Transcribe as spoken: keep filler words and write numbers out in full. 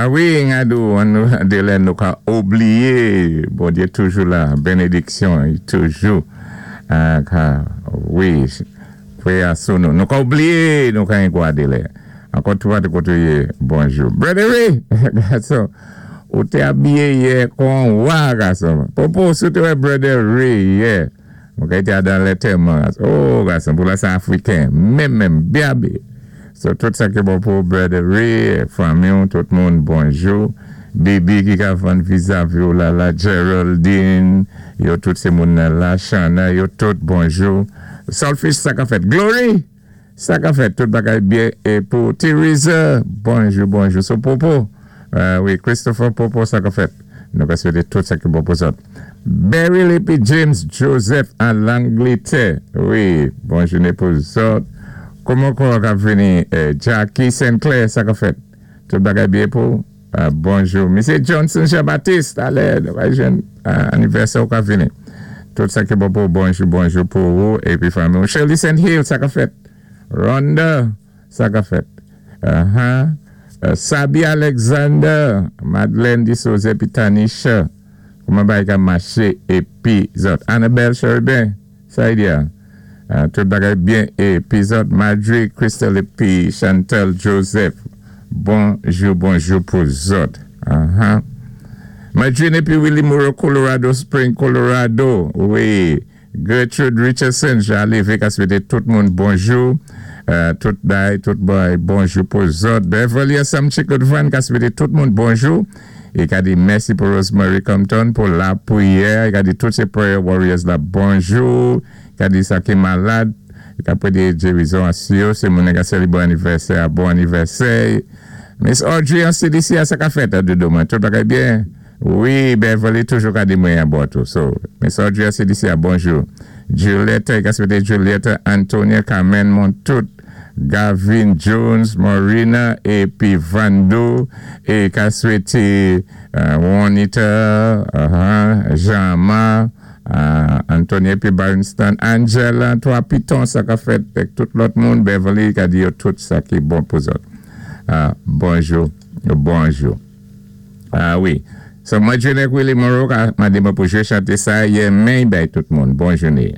A wi, ngadou, an dé lè nou ka oubliyé, Bondyé toujou la, bénédiksyon, i toujou, ka, wi, kwé sou nou. Nou ka oubliyé, nou ka gwa dé lè. Ankò tou koté koté ou yé, bonjou. Brother Ray, gason, ou té abiyé yè kon wa, gason. Popo, si ou té wè Brother Ray yè. Mwen ka été dan lantèman. Oh, gason, pou la sa Afriken. Menm, menm, byen abiyé. So, tout sa ki bon pou Brother Ray, fanmi, tout moun, bonjou. Bibi ki ka vann vizavi ou la la, Geraldine, yo tout sé moun nan la, Shana, yo tout bonjou. Solfish, sa ka fèt. Glory! Sa ka fèt, tout bagay byen. É pou Teresa, bonjou, bonjou. So, Popo, euh, wi, Christopher Popo, sa ka fèt. Nou ka swété tout sa ki bon pou zòt. Beryl épi James Joseph an Langlétè. Wi, bonjouné pou zòt. Kouman kon ka vini eh, Jackie Sinclair, sa ka fèt. Tout bagay byen pou. Euh, bonjou. Misyé Johnson Jean-Baptiste, alè, nou va jwenn euh, anivèsè ou ka vini. Tout sa ki bon pou bonjou, bonjou pou ou. Épi fanmi. Shirley Saint Hill, sa ka fèt. Rhonda, sa ka fèt. Uh-huh. Uh, Sabi Alexander, Madeleine Dissouze épi Tanisha. Kouman bagay ka maché épi zòt. Annabelle Cherubin, sa y di uh, tout bagay byen épi zòt. Marjorie Crystal épi Chantal Joseph. Bonjou, bonjou pou zòt. Uh-huh. Marjorie épi Willie Moreau, Colorado Spring, Colorado. Wi. Gertrude Richardson, Jean Lévesque a swété tout moun bonjou. Euh, tout bay, tout bay, bonjou pou zòt. Beverly Sam Chikodvan ka swété tout moun bonjou. É ka di mèsi pou Rosemary Compton pou lapriyè. I ka di tout sé prayer warriors la bonjou. I ka di sa ki malad. I ka pwédé gérizon a yo. Sé moun ka sélébré anivèsè, bon anivèsè. Miss Audrey an C D C a sa ka fèt a dodo mwen. Tout bagay byen. Wi, Beverly toujou ka di mwen an bò tou. So, Miss Audrey an C D C a bonjou. Julietta, i ka swété Julietta, Antonia, Carmen Montout, Gavin Jones, Marina, épi Vando, é ka swété uh, Juanita, uh-huh, Jean-Ma, uh, Antonia épi Barnston, Angela, twa piton sa ka fèt, ak tout lòt moun, Beverly, ka di yo tout sa ki bon pou zòt. Uh, bonjou, bonjou. Ah wi. So, mwen jounen Willie Moreau ka mandé mwen pou jwé chanté sa, yè men bay tout moun. Bon jouné.